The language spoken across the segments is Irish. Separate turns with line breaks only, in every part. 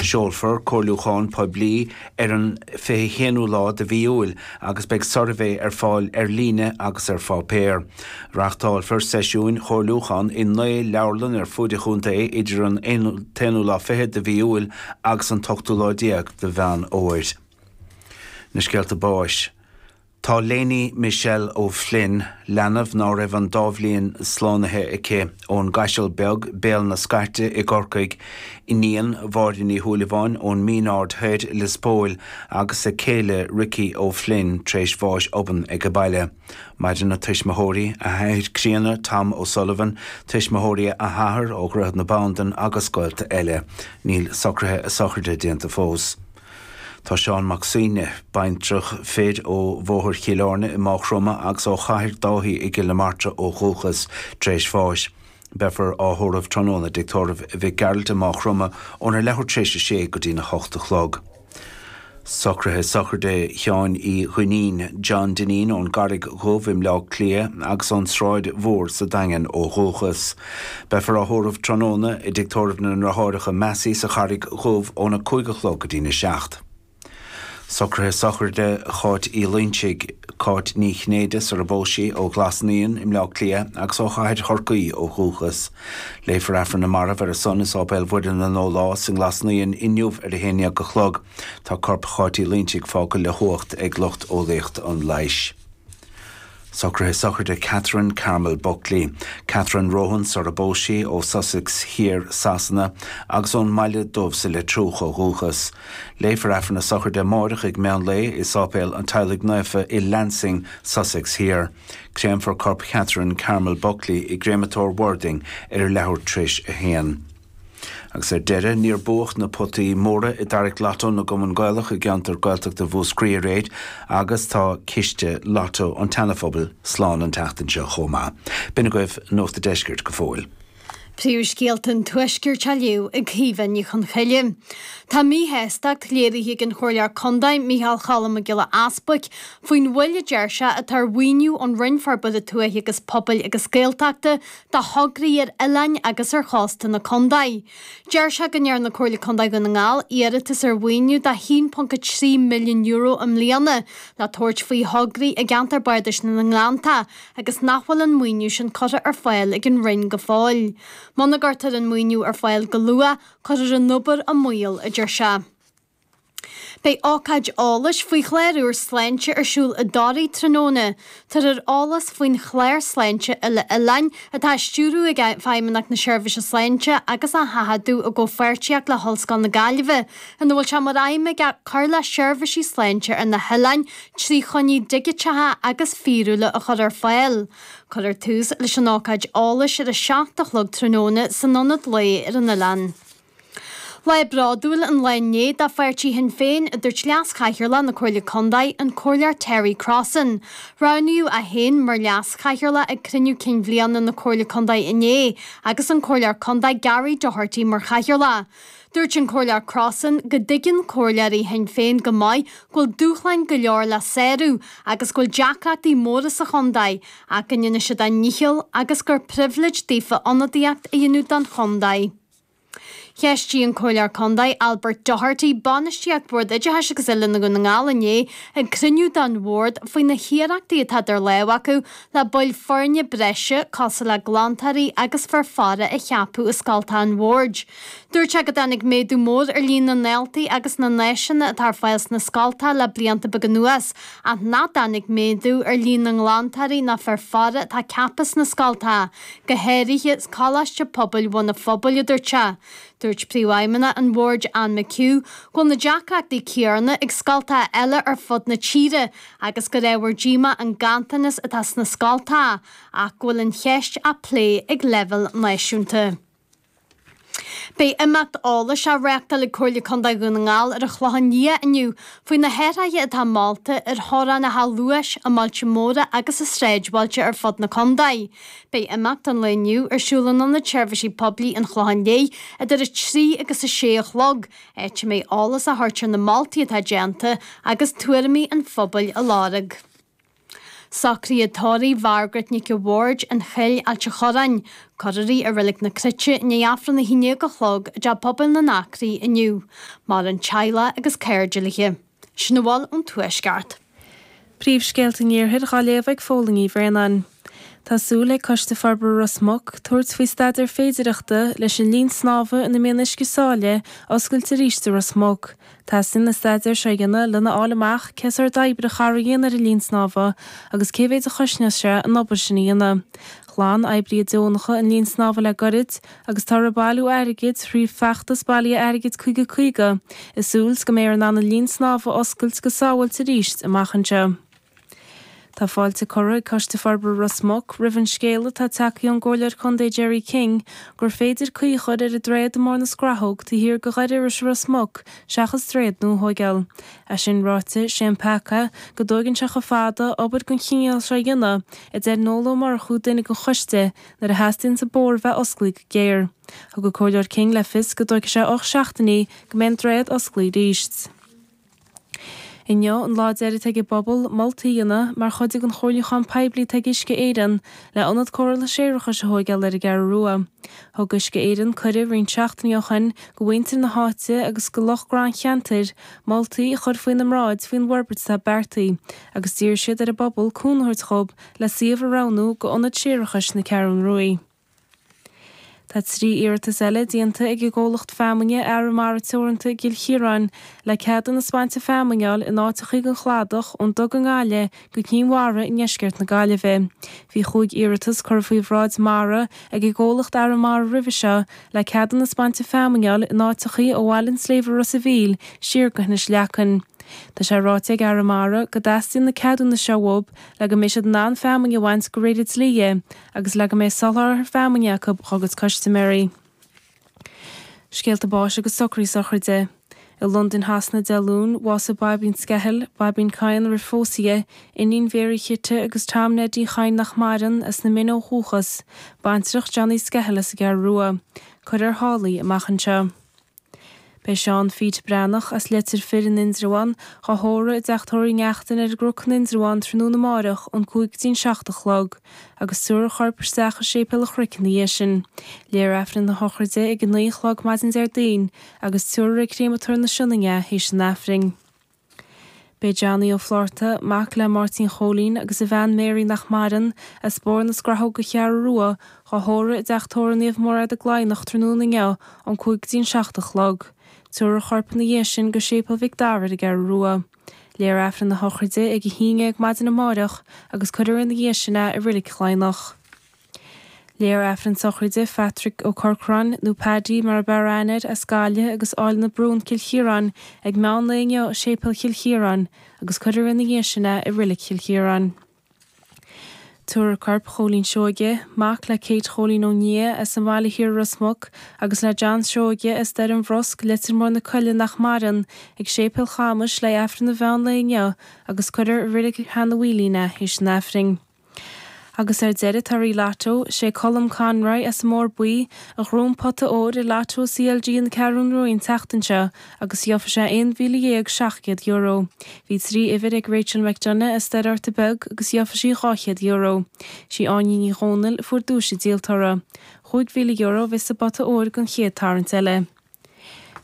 Seolfar comhairliúchán poiblí ar an 21ú lá de mhí Iúil agus beidh suirbhé ar fáil ar líne agus ar pháipéar. Reáchtálfar seisiúin chomhairliúcháin i 9 leabharlann ar fuaid an chontae idir an t-aonú lá fichead de mhí Iúil agus an t-ochtú lá déag de Mheán Fhómhair. Na scéalta báis. Tá Léiní Michelle O'Flynn, leanbh ná raibh an dá bhliain slánaithe aici, ón gCaiseal Beag, Béal na Scairte i gCorcaigh, iníon Mháire Ní Shúilleabháin ón Mín Aird Thoir, Lios Póil, agus a céile Ricky O'Flynn tar éis bháis obann ag baile. Maireann a tuismitheoirí, a hathair críonna Tom O'Sullivan, tuismitheoirí a hathar ó Dhroichead na Bandan agus gaolta eile. Níl socruithe a sochraide déanta fós. Tá Seán Mac Suibhne, baintreach fir ó Bhóthar Chill Airne i Maigh Chromtha agus ó Chathair Dáithí i gCill na Martra ó dhúchas, tar éis bháis. Beifear á thórramh tráthnóna i dTigh Tórraimh Mhic Gearailt i Maigh Chromtha óna leathuair tar éis a sé go dtína hocht a chlog. Socruithe sochraide Sheáin Uí Dhuinnín, John Dineen ón gCarraig Dhubh i mBleá Cliath agus ón tSráid Mhór sa Daingean ó dhúchas. Beifear á thórramh tráthnóna i dTigh Tórraimh na nDeartháireacha Massey sa Charraig Dhubh óna 5 a chlog go dtína 7. Socruithe sochraide Cháit Uí Loinsigh, Cáit Ní Chinnéide sar a bpós sí, ó Ghlas Naíon i mBleá Cliath agus ó Chathair Chorcaí ó dhúchas. Léifear Aifreann na Marbh ar a son i Sáipéal Mhuire na Nólá sa nGlas Naíon inniu ar a haon dhéag a chlog. Tá corp Cháit Uí Loinsigh fágtha le huacht ag lucht eolaíocht an leighis. Socruithe sochraide Catherine Carmel Buckley, Catherine Rohan sar a bpós sí, ó Sussex Thiar, Sasana, agus ón mBaile Dubh sa Leitriúch ó dhúchas. Léifear Aifreann a sochraide amáireach ag meán lae i Sáipéal an Teaghlaigh Naofa i Lancing, Sussex Thiar. Créamfar corp Chatherine Carmel Buckley i gCréamatóir Worthing ar a leathuair tar éis a haon. Agus ar deireadh, níor buadh na potaí móra i dtarrac Lotto na gCumann Gaelach i gceantar Gaeltachta Mhúscraí aréir agus tá ciste Lotto an tSeana-Phobail slán an tseachtain seo chomh maith. B'in agaibh Nuacht a' Deiscirt go fóill.
Príomhscéalta an Tuaiscirt á léamh ag Caoimhe Ní Chonchoille. Tá míshástacht léirithe ag an Chomhairleoir Contae, Micheál Cholm Mac Giolla Easbuic, faoin mhoill a deir sé atá ar mhaoiniú ón Roinn Forbartha Tuaithe agus Pobail agus Gaeltachta do thograí ar oileáin agus ar chósta na contae. Deir sé go ndearna Comhairle Contae Dhún na nGall iarratas ar mhaoiniú de €1.3 milliún i mbliana le tabhairt faoi thograí i gceantar Bardais na nGleanntach agus nach bhfuil an maoiniú sin curtha ar fáil ag an Roinn go fóill. Muna gcuirtear an maoiniú ar fáil go luath, cuirfear an obair i mbaol, a deir sé. Beidh ócáid eolais faoi chlár úr sláinte ar siúl i dToraigh tráthnóna. Tabharfar eolas faoin chlár sláinte uile-oileáin atá á stiúradh ag Feidhmeannacht na Seirbhíse Sláinte agus á sheachadadh i gcomhpháirtíocht le hOllscoil na Gaillimhe, ina bhfuil sé mar aidhm aige cur le seirbhísí sláinte ar na hoileáin trí choinní digiteacha agus fíorúla a chur ar fáil. Cuirfear tús leis an ócáid eolais ar a 7 a chlog tráthnóna san Ionad Lae ar an oileán. Lá bródúil an lá inné do pháirtí Shinn Féin, a dúirt Leas-Chathaoirleach na Comhairle Contae, an Comhairleoir Terry Crossan. Roghnaíodh é féin mar Leas-Chathaoirleach ag cruinniú cinn bhliana na Comhairle Contae inné agus an Comhairleoir Contae Gary Doherty mar Chathaoirleach. Dúirt an Comhairleoir Crossan go dtuigeann comhairleoirí Shinn Féin go maith go bhfuil dúshláin go leor le sárú agus go bhfuil deacrachtaí móra sa chontae ach go ndéanfaidh siad a ndícheall agus gur pribhléid daofa ionadaíocht a dhéanamh don chontae. Cheistigh an Comhairleoir Contae Albert Doherty bainistíocht Bhord Oideachais agus Oiliúna Dhún na nGall inné ag cruinniú den bhord faoi na hiarrachtaí atá idir lámha acu le baill foirne breise cosúil le glantóirí agus fir faire a cheapadh i scoltacha an bhoird. Dúirt sé go dtáinig méadú mór ar líon na ndaltaí agus na n-áiseanna atá ar fáil sna scoltacha le blianta beaga anuas ach nach dtáinig méadú ar líon na nglantóirí ná fir faire atá ceaptha sna scoltacha. go háirithe Coláiste Pobail Bhun an Phobail, a dúirt sé. Dúirt Príomhfheidhmeannach an Bhoird Ann McHugh go bhfuil na deacrachtaí céanna ag scoltacha eile ar fud na tíre agus gur ábhar díomá an ganntanas atá sna scoltacha ach go bhfuil an cheist á plé ag leibhéal náisiúnta. Beidh imeacht eolais á reáchtáil ag Comhairle Contae Dhún na nGall ar an Chlochán Liath inniu faoi na hathruithe atá molta ar theorainneacha luais i mbailte móra agus i sráidbhailte ar fud na contae. Beidh imeacht an lae inniu ar siúl in Ionad Seirbhísí Poiblí an Chlocháin Léith idir 3 agus 6 a chlog, áit a mbeidh eolas á thabhairt ar na moltaí atá déanta agus tuairimí an phobail á lorg. Socruithe tórraimh Mhargaret Nic a' Bhaird, An Chill, Ailt a' Chorráin. Cuirfear í i Reilig na Cruite i ndiaidh Aifreann 11 a chlog i dTeach Pobail na nAcraí inniu. Maireann teaghlach agus cairde léi. Sin a bhfuil ón Tuaisceart.
Príomhscéalta an Iarthair dhá léamh ag Fódhla Ní Bhraonáin. Tá súil ag Coiste Forbartha Ros Muc tabhairt faoi staidéar féidireachta leis an linn snámha ina mbíonn uisce sáile a oscailt arís i Ros Muc. Teastaíonn an staidéar seo a dhéanamh lena fháil amach cé sórt oibre a chaithfear a dhéanamh ar an linn snámha agus cé mhéid a chosnós sé an obair sin a dhéanamh. Ghlan oibrithe deonacha an linn snámha le goirid agus táthar ag bailiú airgid thrí feachtas bailithe airgid 50 50 i súil 's go mbeifear in ann an linn snámha a oscailt go sábháilte arís amach anseo. Tá fáilte curtha ag Coiste Forbartha Ros Muc roimh an scéala atá tagtha ón gComhairleoir Contae Gerry King gur féidir caoi a chur ar an droichead i mBarr na Scrathóg taobh thiar de Dhoire Iorrais i Ros Muc seachas droichead nua a thóigeáil. É sin ráite, sé an peaca go dtóigeann sé chomh fada obair den chineál seo a dhéanamh, a deir Noel Ó Murchú, duine den choiste, nuair a theastaíonns an bóthar bheith osclaithe go géar. Thug an Comhairleoir King le fios go dtóigfidh sé 8 seachtainí go mbeidh an droichead osclaithe arís. Inniu an lá deiridh atá ag an bpobal moltaí a dhéanamh mar chuid den chomhairliúchán poiblí atá ag Uisce Éireann le ionad cóireála séarachais a thóigeáil ar an gCeathrú Rua. Thug Uisce Éireann cuireadh roinnt seachtainí ó shin go mhuintir na háite agus go lucht grandcheantair moltaí a chur faoina mbráid faoin bhforbairt atá beartaithe agus d'iarr siad ar an bpobal cúnamh a thabhairt dhób le suíomh a roghnú go ionad séarachais na Ceathrún Ruaidh. Tá 3 iarratas eile déanta ag an gcomhlacht feamainne Arramara Teoranta i gCill Chiaráin le ceadúnas bainte feamainne a fháil in áiteachaí den chladach ón Dug i nGaillimh go Cinn Mhara i ndeisceart na Gaillimhe. Bhí chúig iarratas curtha faoi bhráid Mara ag an gcomhlacht Arramara roimhe seo le ceadúnas bainte feamainne a fháil in áiteachaí ó Bhaile an tSléibhe Ros a' Mhíl siar go hInis Leacain. Tá sé ráite ag Arramara go dteastaíonn na ceadúnais seo uathub le go mbeidh siad in ann feamainn a bhaint de réir an dlí agus le go mbeidh soláthar feamainne acu dhá gcuid custaiméirí. Scéalta báis agus socruithe sochraide. I Londain Shasana Dé Luain, bhásaigh Baibín Skehill, Baibín Kyne roimh phósadh di, iníon Mhéaraí Chite agus Tom Neidí Chadhain nach maireann, as na Mine ó dhúchas, baintreach Johnny Skehill as an gCeathrú Rua. Cuirfear thall í amach anseo. Beidh Seán Phete Breathnach as Leitir Fir in Indreabhán dhá thórramh i dTeach Tórraimh Uí Neachtain ar an gCnoc in Indreabhán tráthnóna amáireach ón 5 go dtí an 7 a chlog agus tabharfar a chorp isteach i Séipéal an Chnoic ina dhiaidh sin. Léifear Aifreann na sochraide ag 9 a chlog maidin Déardaoin agus tabharfar ag Créamatóir na Sionainne é théis an Aifrinn. Beidh Johnny Ó Flátharta, mac le Máirtín Chóilín agus a bhean Mary nach maireann, as Bóthar na Scrathóga Cheathrú Rua, dhá thórramh i dTeach Tórraimh Naomh Mairéad i gCladhnach tráthnóna inniu ón 5 go dtí an 7 a chlog. Tabharfar a chorp ina dhiaidh sin go Séipéal Mhic Dara ar an gCeathrú Rua. Léifear Aifreann na sochraide ag 11 maidin amáireach agus cuirfear ina dhiaidh sin é i Reilig Chladhnach. Léifear Aifreann sochraide Phatrick Ó Corcráin, nó Paddy mar ab fhearr aithne air, as Gaillimh agus Áil na Brún, Cill Chiaráin, ag meán lae inniu i Séipéal Chill Chiaráin agus cuirfear ina dhiaidh sin é i Reilig Chill Chiaráin. Tabharfar corp Chóilín Seoige, mac le Kate Chóilín Ó Nia as an Bhaile Thiar i Ros Muc agus le John Seoige as Doire an Bhrosc, Leitir Móir na Coille nach maireann, ag Séipéal Chamais le Aifreann an mheán lae inniu agus cuirfear i Reilig Sheanadh Mhaoilín é théis an Aifrinn. Agus ar deireadh torthaí Lotto, sé Colm Conroy as an mBóthar Buí a ghnóthaigh an pota óir i Lotto CLG na Ceathrún Rua an tseachtain seo agus gheofaidh sé €11,700. Bhí 3 uimhir ag Rachel McDonagh as Doire Fhorta Beag agus gheofaidh sí €200. Sí Áine Ní Dhomhnaill a fuair duais an díoltóra. €5,000 a bheas sa bpota óir don chéad tarraingt eile.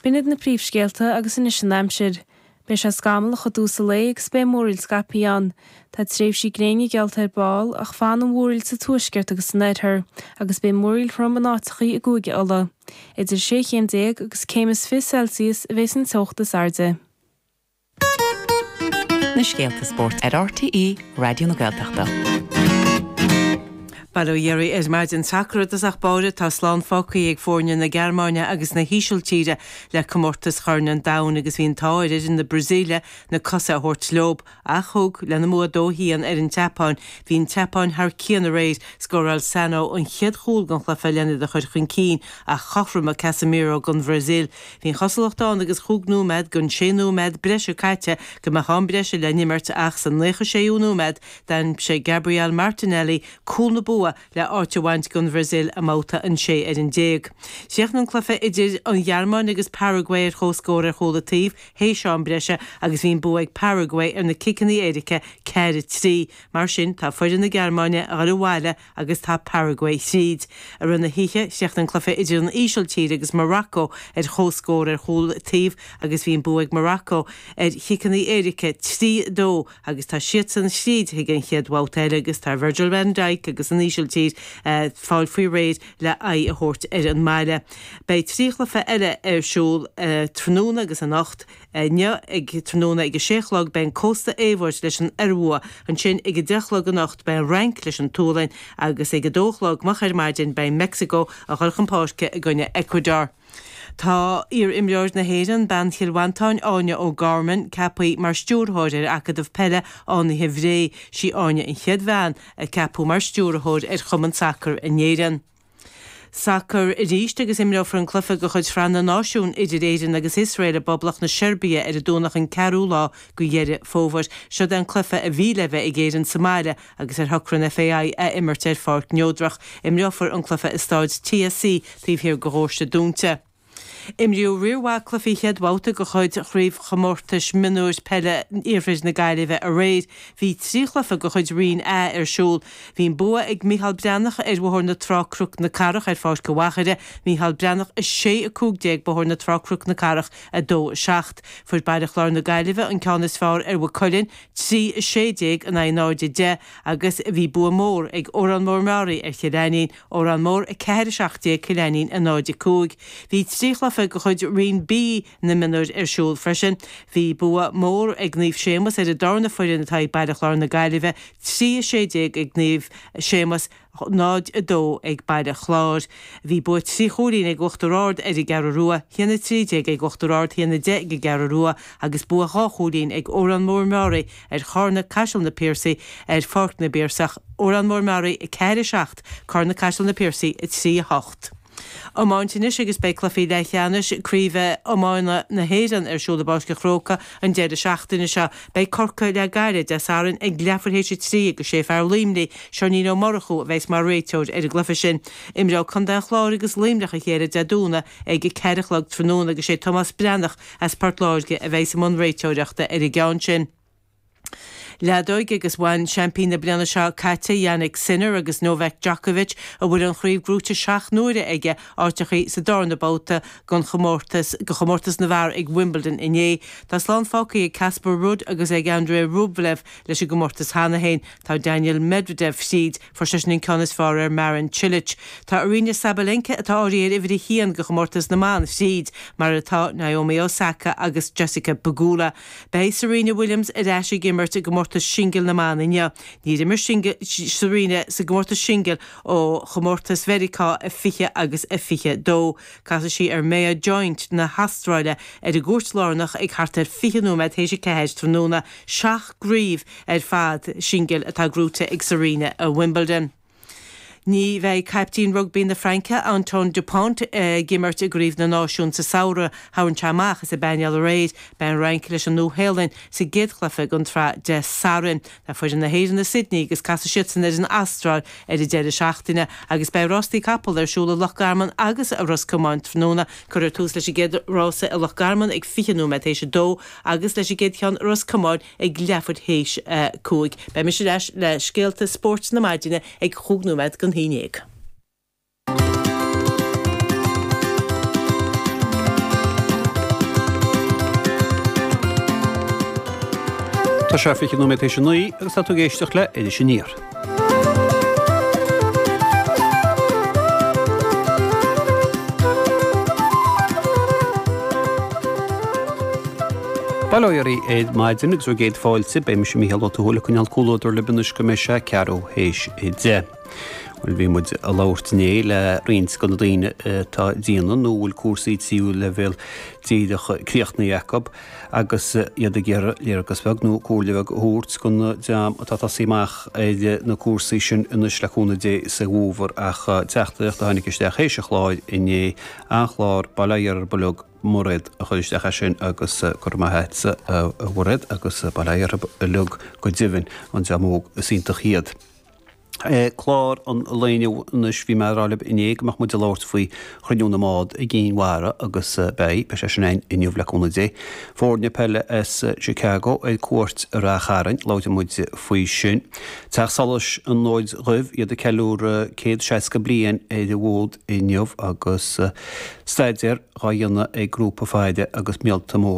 B'in iad na príomhscéalta agus anois an aimsir. Beidh sé scamallach i dtús an lae agus beidh múraíl scaipthe ann. Tá tréimhsí gréine geallta ar ball ach fanfaidh an mhúraíl sa tuaisceart agus san oirthear agus beidh múraíl throm in áiteachaí i gCúige Uladh. Idir sé chéim déag agus céim is 20 Celsius a bheas an teocht is airde.
Na scéalta spóirt ar RTÉ Raidió na Gaeltachta.
Bail ó Dhia oraibh ar maidin. Sacar i dtosach báire, tá slán fágtha ag foirne na Gearmáine agus na hÍsiltíre le comórtas Chorn an Domhain agus bhí an t-ádh ar fhoireann na Brasaíle na cosa a thabhairt leo. Ach thug, lena mbua 2-1 ar an tSeapáin. Bhí an tSeapáin thar cionn aréir. Scóráil Sano an chéad chúl den chluiche len iad a chur chun cinn ach chothromaigh Casemiro don Bhrasaíl. Bhí an chosúlacht ann agus chúig nóiméad den sé nóiméad breise caite go mbeadh am breise le n-imirt ach sa 96ú nóiméad d'aimsigh Gabriel Martinelli cúl na bua. bua le áit a bhaint don Bhrasaíl i mbabhta an 16 fhoireann. Chríochnaigh an cluiche idir an Ghearmáin agus Paraguay ar comhscór ar chúl an taobh théis am breise agus bhí an bua ag Paraguay ar na ciceanna éirice, 4, 3. Mar sin, tá foireann na Gearmáine a dhul abhaile agus tá Paraguay thríd. I rith na hoíche, chríochnaigh an cluiche idir an Ísiltír agus Morocco ar comhscór ar chúl an taobh agus bhí an bua ag Morocco ar chiceanna éirice, 3, 2, agus tá siadsan thríd chuig an chéad bhabhta eile agus tá Virgil van Dijk agus an Ísiltír ag fáil faoi réir le aghaidh a thabhairt ar an mbaile. Beidh 3 chluiche eile ar siúl tráthnóna agus anocht. Inniu ag tráthnóna ag a sé a chlog beidh an Cósta Eabhair leis an Iorua, ansin ag a deich a chlog anocht beidh an Fhrainc leis an tSualainn agus ag a dó a chlog moch ar maidin beidh Meicsiceo a dhul chun páirce i gcoinne Ecuador. Tá iar-imreoir na hÉireann, bean Chill Mhantáin, Áine O'Gorman, ceaptha mar stiúrthóir ar Acadamh Peile Fhánaithe Bhré. Sí Áine an chéad bhean a ceapadh mar stiúrthóir ar chumann sacair in Éirinn. Sacar arís agus imreofar an cluiche de chuid Shraith na Náisiún idir Éirinn agus Iosrael i bPoblacht na Seirbia ar an Domhnach an ceathrú lá de Dheireadh Fómhair. Seod é an cluiche a bhí le bheith ag Éirinn sa mbaile agus ar shocraigh an FAI a imirt ar pháirc neodrach. Imreofar an cluiche i Stáid TSC taobh thiar de Dhóirse Dúnta. Imríodh riar mhaith cluichí chéad bhabhta de chuid Chraobhchomórtais Mionúir Peile Iarthar na Gaillimhe aréir. Bhí 3 chluiche de chuid Roinn A ar siúl. Bhí an bua ag Micheál Breathnach ar Bhóthar na Trá Cnoc na Cathrach ar Pháirc an Mhachaire, Micheál Breathnach 6, 15, Bóthar na Trá Cnoc na Cathrach 2, 7. Fuair Baile Chláir na Gaillimhe an ceann is fearr ar Mhaigh Cuilinn, 3, 16 in aghaidh 0, 10, agus bhí bua mór ag Órán Mór Meáraí ar Chill Ainnín, Órán Mór 4, 17, Cill Ainnín 0, 5. Bhí 3 chluiche de chuid Roinn B na mionúir ar siúl freisin. Bhí bua mór ag Naomh Séamus ar an darna foireann atá ag Baile Chláir na Gaillimhe, 3, 16 ag Naomh Séamus, 0, 2 ag Baile Chláir. Bhí bua 3 chúilín ag Uachtar Ard ar an gCeathrú Rua, 1, 13 ag Uachtar Ard, 1, 10 ag an gCeathrú Rua agus bua 2 chúilín ag Órán Mór Meáraí ar Charna Caiseal na Piarsaigh ar Pháirc na bPiarsach, Órán Mór Meáraí 4, 7, Carna Caiseal na Piarsaigh 3, 8. Iomáint anois agus beidh cluichí leathcheannais Craoibhe Iomána na hÉireann ar siúl i bPáirc an Chrócaigh an deireadh seachtaine seo. Beidh Corcaigh le Gaillimh Dé Sathairn ag leathuair théis a 3 agus sé fear Luimnigh, Seáinín Ó Murchú, a bheas mar réiteoir ar an gcluiche sin. Imreoidh Contae an Chláir agus Luimneach a chéile Dé Domhnaigh ag 4 a chlog tráthnóna agus sé Tomás Breathnach as Port Láirge a bheas i mbun réiteoireachta ar an gceann sin. Leadóg agus bhain seaimpín na bliana seo caite Jannik Sinner agus Novak Djokovic, a bhfuil an chraobh gnóite 7 n-uaire aige, áiteachaí sa darna babhta den chomórtas de chomórtas na bhfear ag Wimbledon inné. Tá slán fágtha ag Casper Ruud agus ag Andrei Rublev leis an gcomórtas cheana féin. Tá Daniil Medvedev fríd, fuair seisean an ceann is fearr ar Marin Cilic. Tá Aryna Sabalenka, atá áirithe ar uimhir a haon do chomórtas na mban, fríd, mar atá Naomi Osaka agus Jessica Pegula. Beidh Serena Williams ar ais ag imirt i gcomórtas singil na mban inniu. Níor imir Serena sa gcomórtas singil ó chomórtas Mheiriceá a 20 agus a 22. Casfaidh sí ar Maya Joint na hAstráile ar an gcúirt lárnach ag thart ar 20 nóiméad théis a 4 tráthnóna. Seacht gcraobh ar fad singil atá gnóite ag Serena i Wimbledon. Ní bheidh caiptín rugbaí na Fraince, Antoine Dupont, ag imirt i gCraobh na Náisiún sa samhradh. Tharraing sé amach as an bpainéal aréir. Beidh an Fhrainc leis an Nua-Shéalainn sa gcéad chluiche den tsraith Dé Sathairn. Tá foireann na hÉireann i Sydney agus casfaidh siadsan ar an Astráil ar an deireadh seachtaine agus beidh rástaí capall ar siúl i Loch Garman agus i Ros Comáin tráthnóna. Cuirfear tús leis an gcéad rása i Loch Garman ag 20 nóiméad théis a dó agus leis an gcéad cheann i Ros Comáin ag leathuair théis a 5. Beidh mise ar ais le scéalta spóirt na maidine ag chúig nóiméad don haon dhéag.
Tá sé 20 nóiméad théis a 9 agus tá tú ag éisteacht le Iris Aniar. Bail ó Dhia oraibh ar maidin agus bhur gcéad fáilte. Beidh mise Mícheál Ó Tuathail ag coinneáil comhluadar libh anois go mbeidh sé ceathrú théis a 10. Bhuel, bhí muid ag labhairt inné le roinnt de na daoine atá ag déanamh nó a bhfuil cúrsaí tríú leibhéal díreach críochnaithe acu agus iad ag iarraidh léargas beag nó comhairle bheag a thabhairt don dream atá ag tosaí amach ar na cúrsaí sin anois le cúnamh Dé sa bhfómhar. Ach teachtaireacht a tháinig isteach théis an chláir inné, an-chlár, bail ó Dhia orthu uilig. Mairéad a chuir isteach é sin agus go raibh maith agatsa a Mhairéad agus bail ó Dhia orthu uilig go deimhin, an dream óg is iontach iad. Clár an lae inniu anois, bhí mé ag rá libh inné go mbeadh muid ag labhairt faoi chruinniú na mbád i gCinn Mhara agus beidh, beidh sé sin againn inniu le cúnamh Dé. Foirne peile as Chicago ar cuairt ar Rath Chairn, labhróidh muid faoi sin. Teach Solais an Fhóid Dhuibh, iad ag ceiliúradh 160 bliain ar an bhfód inniu agus staidéar dhá dhéanamh ag grúpa faire agus míolta móra.